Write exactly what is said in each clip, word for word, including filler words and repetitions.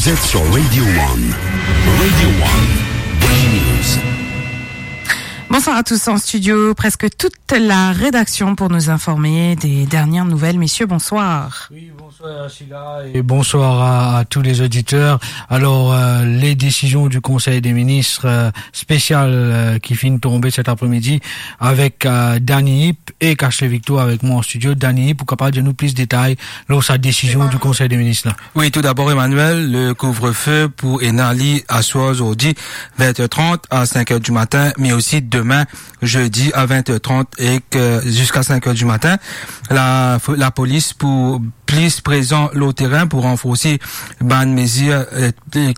Vous êtes sur Radio One. Radio One, Daily News. Bonsoir à tous. En studio, presque toute la rédaction pour nous informer des dernières nouvelles. Messieurs, bonsoir. Oui, bonsoir Sheila et bonsoir à, à tous les auditeurs. Alors, euh, les décisions du Conseil des ministres, euh, spécial, euh, ki finn tonbe cet après-midi avec, euh, Dany Ip e Ashley Victor avec moi en studio. Dany Ip, pou kapav donn nou plis detay lor sa décision du Conseil des ministres la. Oui, tout d'abord, Emmanuel, le couvre-feu pou ena li aswar zordi, vingt heures trente à cinq heures du matin, mais aussi demain, jeudi, à vingt heures trente et que jusqu'à cinq heures du matin. La, la polis pou plis prezan lor terin pou ranforsi bann mezir, euh,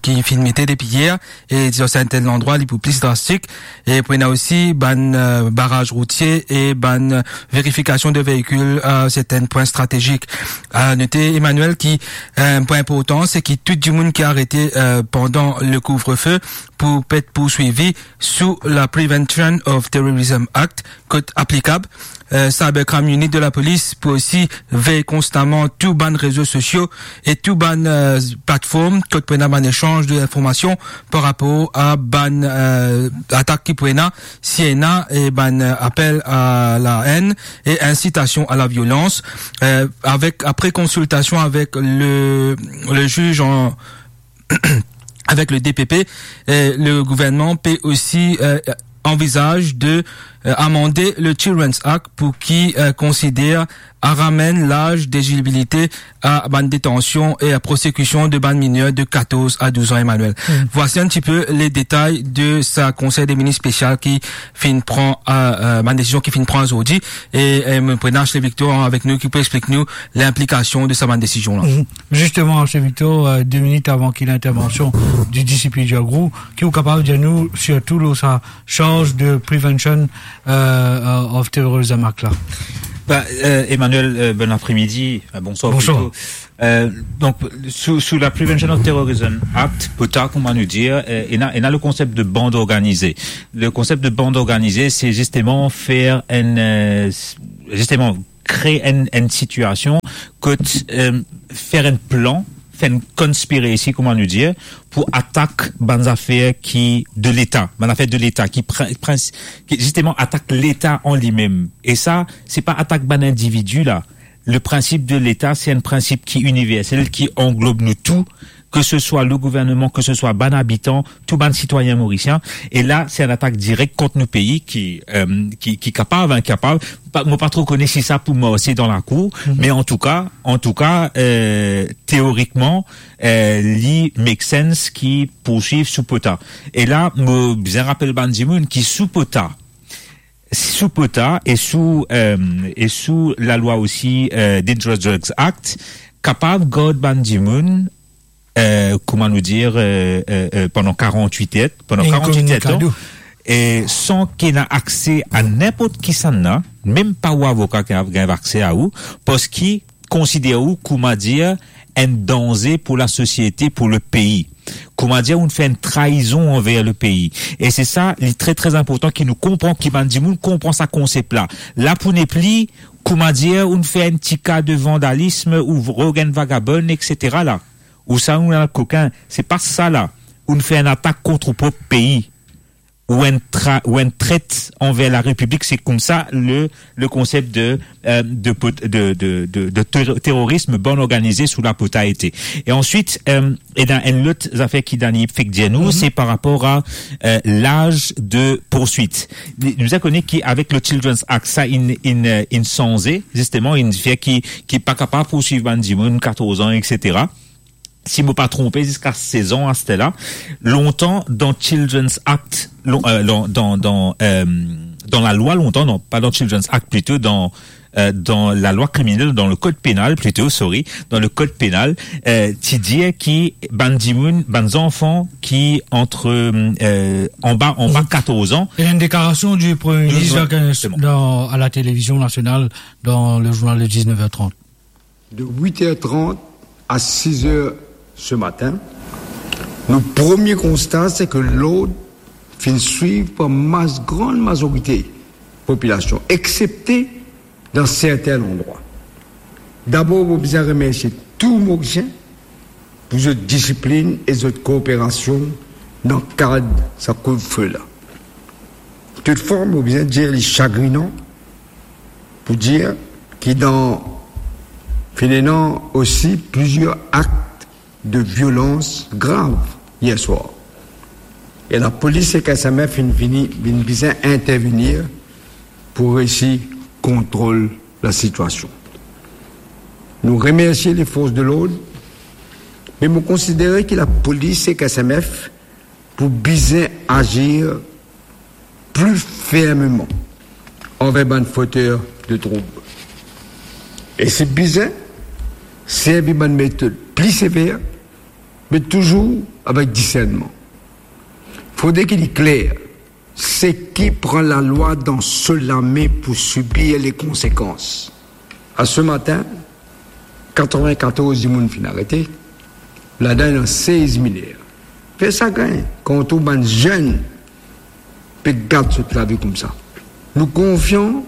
ki finn mete depi yer, e dan serten landrwa, li pou plis drastik. E pou ena osi bann, euh, baraz routie e bann verifikasion de veikil a serten pwin stratezik. A note, Emmanuel, ki, euh, pwin inportan, se ki tou dimoun ki arete, euh, pandan le couvre-feu pou pe et pourswivi sou la Prevention of Terrorism Act, kot aplikab. Euh, Cybercrime Unit de la polis pou osi vey konstaman tou bann rezo sosio e tou bann, euh, platform kot pou ena bann esanz de informasion par rapor a bann, euh, atak ki pou ena, si ena, e bann, euh, apel a la enn e insitasion a la violans, euh, avek, apre konsiltasion avek le, le ziz an, avek le D P P, euh, le gouvernman pe osi, euh, anvizaz de, euh, amande le Children's Act pou ki, euh, konsider a ramenn laz delizibilite a bann detansion e a prosekision de bann miner de quatorze à douze ans, Emmanuel. Mm. Voici un petit peu les détails de sa Conseil des ministres spécial ki finn pran, euh, euh, bann desizion ki finn pran zordi. E, euh, mo pou ena Ashley Victor avek nou ki pou explik nou linplikasion de sa bann desizion la. Mm. Justement, Ashley Victor, euh, deux minutes avant qu'il y ait l'intervention du D C P Djagrou, ki ou kapav dir nou sirtou lor sa charge de Prevention, euh, euh, of Terrorism Act la? Ba, euh, Emmanuel, euh, bon après-midi, euh, bonsoir. Bonsoir. Plito. Euh, donk, sou, sou la Prevention of Terrorism Act, POTA, kouma nou dir, euh, ena, ena le konsep de bande organisée. Le konsep de bande organisée, se zisteman fer enn, euh, s-, zisteman kre enn, enn sitiasion kot, euh, fer enn plan, fer enn conspiracy, kouma nou dir, pou atak bann zafer ki de Leta, bann zafer de Leta, ki prin-, prins-, ki zisteman atak Leta an limem. E sa, se pa atak bann individi la. Le principe de l'État, se enn prinsip ki iniversel, ki anglob nou tou, ke se swa le gouvernman, ke se swa bann abitan, tou bann sitwayin morisien. E la, se enn atak direk kont nou pei ki, euh, ki, ki kapav, hein, kapav. Pa, mo pa tro kone si sa pou marse dan lakour, mhm, me antouka, antouka, euh, teorikman, euh, li make sense ki pourswiv sou POTA. E la, mo bizin rapel bann dimoun ki sou POTA, sou POTA e sou, euh, e sou lalwa osi, euh, Dangerous Drugs Act, kapav gard bann dimoun, euh, kouma nou dir, euh, euh, euh, pandan karant-wit er, pandan karant-wit er tan, e san ki ena akse a ninport kisannla, mem pa ou avoka ki ena, ki ena akse a ou, parski konsider ou, kouma dir, enn danze pou lasosiete, pou lepei. Kouma dir, ou'nn fer enn traizon anver lepei. E se sa, li tre, tre inportan ki nou konpran, ki bann dimoun konpran sa konsep la. La pou nepli, kouma dir, ou'nn fer enn ti ka de vandalism, ou rod enn vagabon, et cetera la. Ou sa, ou enn kokin. Se pa sa la. Ou'nn fer enn atak kont ou prop pei. Ou enn tra-, ou enn tret anver larepiblik, se koumsa le, le konsep de, euh, de pot-, de, de, de, de ter-, terorism, bande organisée sou la POTA ete. E answit, euh, ena enn lot zafer ki Dani fek dir nou, mhm, se par rapor a, euh, laz de pourswit. Nou, nou kone ki avek le Children's Act, sa inn, inn, euh, inn sanze, zisteman, inn fer ki, ki pa kapav pourswiv bann dimoun katorz an, et cetera. Si mo pa tronpe, ziska sez an aster la. Lontan, dan Children's Act, lon-, euh, dan, dan, dan, euh, dan lalwa lontan, non, pa dan Children's Act, plito dan, euh, dan lalwa kriminel, dan le code pénal, plito, sorry, dan le code pénal, euh, ti dir ki bann dimoun, bann zanfan ki antre, euh, anba, anba katorz an. Il y a une déclaration du Premier ministre, exactement, dans, à la télévision nationale, dans le journal de dix-neuf heures trente. De huit heures trente à six heures ce matin, nou premie konsta, se ke lord finn swiv par mas-, gran mazorite popilasion, exsepte dan serten landrwa. Dabor, mo bizin remersie tou Morisien, pou zot disiplinn e zot kooperasion dan kad sa kouvrefe la. Toutfwa, mo bizin dir li sagrinan pou dir ki dan finn ena osi plizier akt de violans grav yer swar. E lapolis ek S M F finn vini, finn bizin intervenir pou reisi kontrol lasitiasion. Nou remersie lefors de lord, me mo konsidere ki lapolis ek S M F pou bizin azir pli fermeman anver bann foter de troub. E si bizin, servi bann metod pli sever, me touzour avek disernman. Fode ki li kler, seki pran lalwa dan so lame pou sibir lekonsekans. A se matin, katreven-katorz dimoun finn arete, ladan ena sez miner. Fer sagrin kan ou trouv bann zenn pe gat zot lavi koumsa. Nou konfian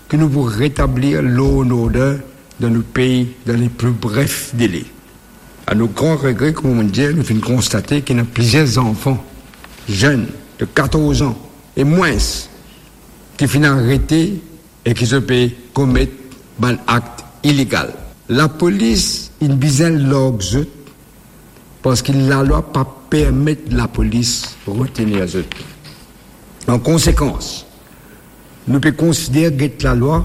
ki nou pou retablir law and order dan nou pei dan le pli bref dele. A nou gran regre, kouma mo dir, nou finn konstate ki ena plizier zanfan, zenn de katorz an e mwins, ki finn arete e ki zot pe komet bann akt ilegal. Lapolis inn bizin larg zot, parski lalwa pa permet lapolis retenir zot. An konsekans, nou pe konsider get lalwa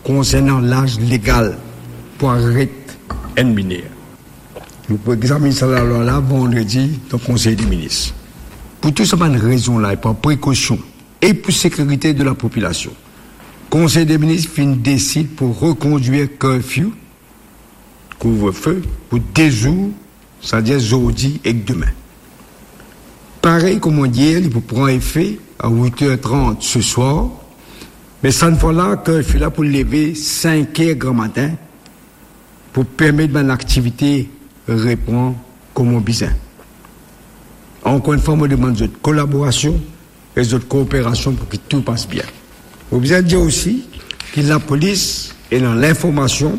konsernan laz legal pou aret enn miner. Nou pou examinn sa lalwa la vandredi dan Konsey de Minis. Pou tou sa bann rezon la, e par prekosion e pou sekirite de lapopilasion, Konsey de Minis finn desid pou rekondwir curfew, kouvrefe, pou de zour, setadir zordi ek demin. Parey kouma dir, li pou pran efe a wit er trant se swar, me sa fwa la, curfew la pou leve sink er gramatin pou permet bann aktivite repran kouma bizin. Ankor enn fwa, mo demann zot kolaborasion e zot kooperasion pou ki tou pas bien. Mo bizin dir osi ki lapolis ena linformasion